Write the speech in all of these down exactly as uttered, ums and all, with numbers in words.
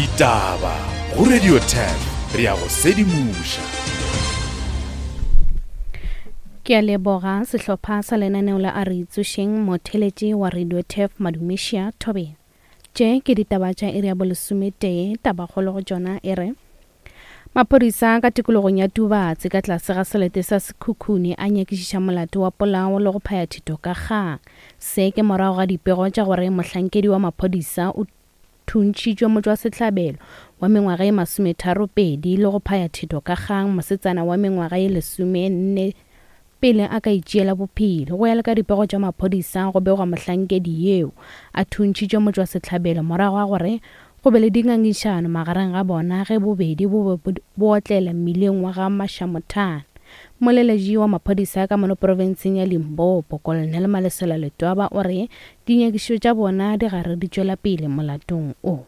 Ditaba go Radio ten re ya go sedimoša. Ke a leboga sehlopha sa lenaneo la a re tsošeng motheletši wa Radio Turf Madumešia Thobela. Tše ke ditaba tša iri ya bolesometee, tabakgolo go tšona e re maphodisa ka tikologong ya Tubatse ka tlase ga selete sa Sekhukhune a nyakišiša molato wa polao le go phaya thito ka kgang. Se ke morago ga dipego tša gore mohlankedi wa maphodisa o thuntšhitšwe motšwasehlabelo wa mengwaga ye masometharopedi le go phaya thito ka kgang mosetsana wa mengwaga ye lesomenne pele a ka itšeela bophelo. Go ya le ka dipego tša maphodisa go begwa mohlankedi yeo a thuntšhitšwe motšwasehlabelo morago ga gore go be le dingangišano magareng ga bona ge bobedi bo be bo otlela mmileng wa ga Mashamothane. Moleletši wa maphodisa ka mono profenseng ya Limpopo, Colonel Malesela Letwaba o re dinyakišišo tša bona di gare di tšwela pele molatong o.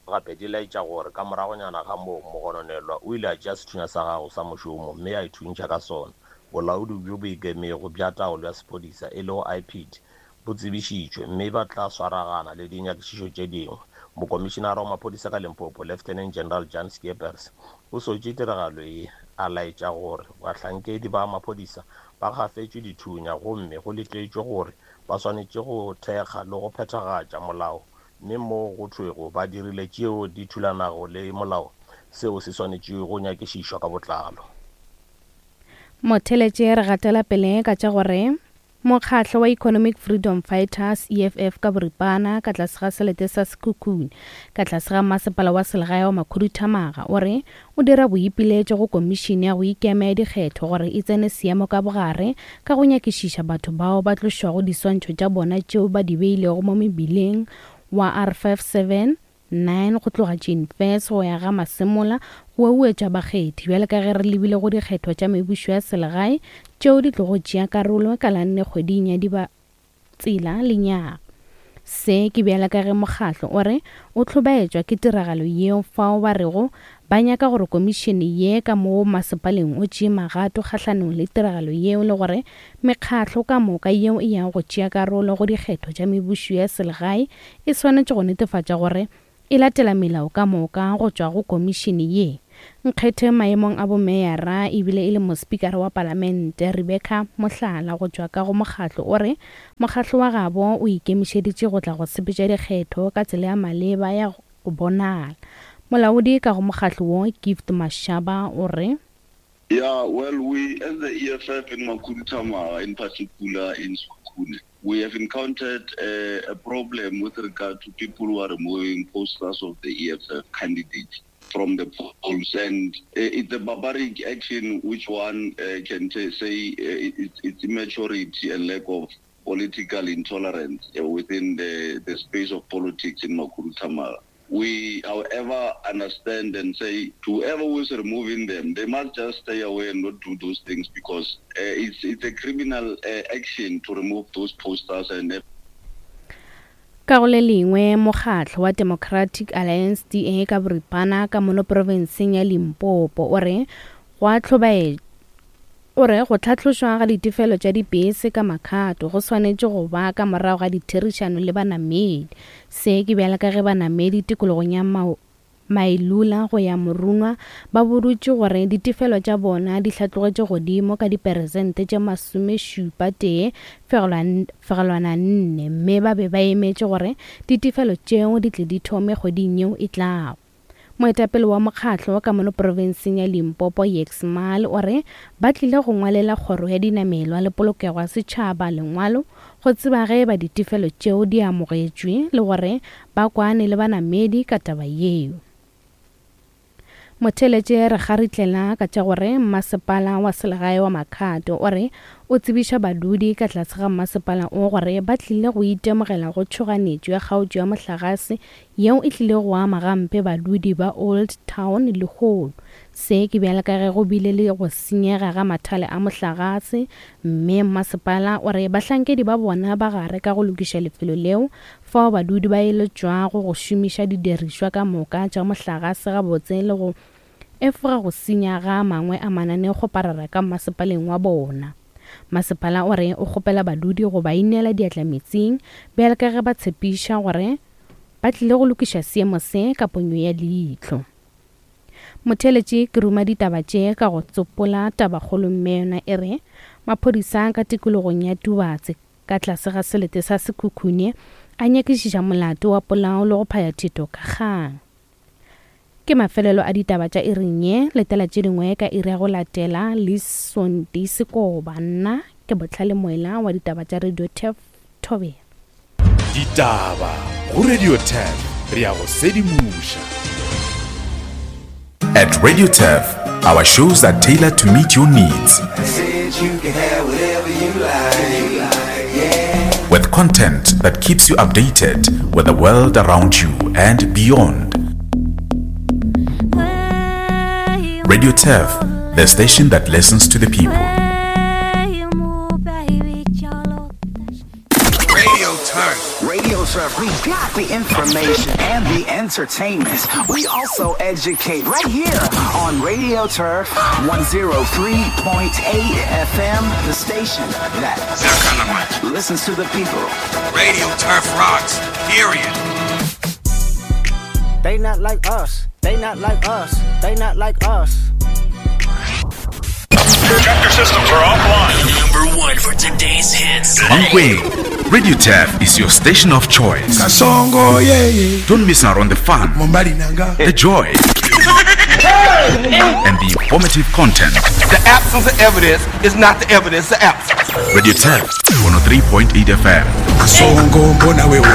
Gape di laetša gore ka moragonyana ga moo mogononelwa o ile a tšea sethunya sa gagwe sa mošomo mme a ithuntšha ka sona. Bolaodi bjo bo ikemego bja taolo ya sephodisa e lego I P D bo tsebišitšwe mme ba tla swaragana le dinyakišišo tše dingwe. Mokomišenara wa maphodisa ka Limpopo, Lieutenant General Jan Skeepers, o sotše tiragalo ye a laetša gore bahlankedi ba maphodisa ba gafetšwe dithunya gomme go letetšwe gore ba swanetše go thekga le go phethagatša molao mme mo go thwego ba dirile tšeo di thulanago le molao, seo se swanetše go nyakišišwa ka botlalo. Motheletše re gatela pele ka tša gore mokgatlo wa Economic Freedom Fighters E F F ka boripana ka tlase ga selete sa Sekhukhune ka tlase ga masepala wa selegae wa Makhuduthamaga o re o dira boipiletšo go komišene ya go ikema ya dikgetho gore e tsene seemo ka bogare ka go nyakišiša batho bao ba tlošwago diswantšho tša bona tšeo ba di beilego mo mebileng wa R five seven nine go tloga Jane Fess go ya ga Masemola go uetša bakgethi bjale ka ge re lebile go dikgetho tša mebušo ya selegae tšeo di tlogo tšea karolo ka la nne kgweding ya Dibatsela lenyaga. Se ke bjale ka ge mokgatlo o re o hlobaetšwa ke tiragalo yeo fao ba rego ba nyaka gore komišene ye ka mo masepaleng o tšee magato kgahlanong le tiragalo yeo le gore mekgatlo ka moka yeo e yago go tšea karolo go dikgetho tša mebušo ya selegae e swanetše go netefatša gore e latela melao ka moka go tšwa go komišene ye. Nkgethe maemong a bomeyara ebile e le mospikara wa palamente Rebecca Mohlala go tšwa ka go mokgatlo o re mokgatlo wa gabo o ikemišeditše go tla go sepetša dikgetho ka tsela ya maleba ya go bonala. Molaodi ka go mokgatlo wo Gift Mashaba o re Yeah, well, we as the E F F in Makhuduthamaga, in particular in Sekhukhune, we have encountered a, a problem with regard to people who are removing posters of the E F F candidates from the polls, and it's a barbaric action which one uh, can t- say uh, it's, it's immaturity and lack of political intolerance uh, within the, the space of politics in Makhuduthamaga. We, however, understand and say to whoever who is removing them, they must just stay away and not do those things because uh, it's, it's a criminal uh, action to remove those posters and Ka go le lengwe mokgatlo wa Democratic Alliance D A ka boripana ka mono profenseng ya Limpopo o re go a hlobaetša o re go tlhatlošwa ga ditefelo tša dibese ka makgato go swanetše go ba ka morago ga ditherišano le banamedi. Se ke bjale ka ge banamedi tikologong ya Mailula go ya Morunwa ba bodutše gore ditefelo tša bona di hlatlogetše godimo ka diperesente tše masomešupa tee fegelwana nne mme ba be ba emetše gore ditefelo tšeo di tle di thome kgweding yeo e tlago. Moetapele wa mokgatlo ka mono profenseng ya Limpopo Yex Mal o re ba tlile go ngwalela kgoro ya dinamelwa le polokego ya setšhaba lengwalo go tseba ge ba ditefelo tšeo di amogetšwe le gore ba kwane le banamedi ka taba yeo. Motheletše re garitlela ka tša gore masepala wa selegae wa Makhado o re o tsebiša badudi ka tlase ga masepala o gore ba tlile go itemogela go tšhoganetšo ya kgaotšo ya mohlagase yeo e tlile go ama gampe badudi ba Old Town lehono. Se ke bjale ka ge go bile le go senyega ga mathale a mohlagase mme masepala o re bahlankedi ba bona ba gare ka go lokiša lefelo leo fao badudi ba eletšwago go šomiša didirišwa ka moka tša mohlagase gabotse le go efoga go senya ga mangwe a mananeokgoparara ka masepaleng wa bona. Masepala o re o kgopela badudi go ba inela diatla metsing bjale ka ge ba tshepiša gore ba tlile go lokiša seemo se ka ponyo ya leihlo. Motheeletši ke ruma ditaba tše ka go tsopola tabakgolo mme yona e re maphodisa ka tikologong ya Tubatse ka tlase ga selete sa Sekhukhune a nyakišiša molato wa polao le go phaya thito ka kgang. Ke mafelelo a ditaba tša iring ye, letela tše dingwe ka iri ya go latela le Sonti Sekoba. Nna ke Botlhale Moela wa ditaba tša Radio Turf Thobela. Ditaba go Radio Turf, re ya go sedimoša. At Radio Turf, our shows are tailored to meet your needs. Said you can have whatever you like. Yeah. With content that keeps you updated with the world around you and beyond. Radio Turf, the station that listens to the people. Radio Turf. Radio Turf, we got the information and the entertainment. We also educate right here on Radio Turf one oh three point eight F M, the station that listens to the people. Radio Turf rocks, period. They not like us. They not like us. They not like us. Tractor systems are offline. Number one for today's hits. Mankweng, Radio Turf is your station of choice. Kasongo, yeah, yeah. Don't miss out on the fun, the joy, and the informative content. The absence of evidence is not the evidence of absence. Radio Turf, one oh three point eight F M. Kasongo, mbona wewe.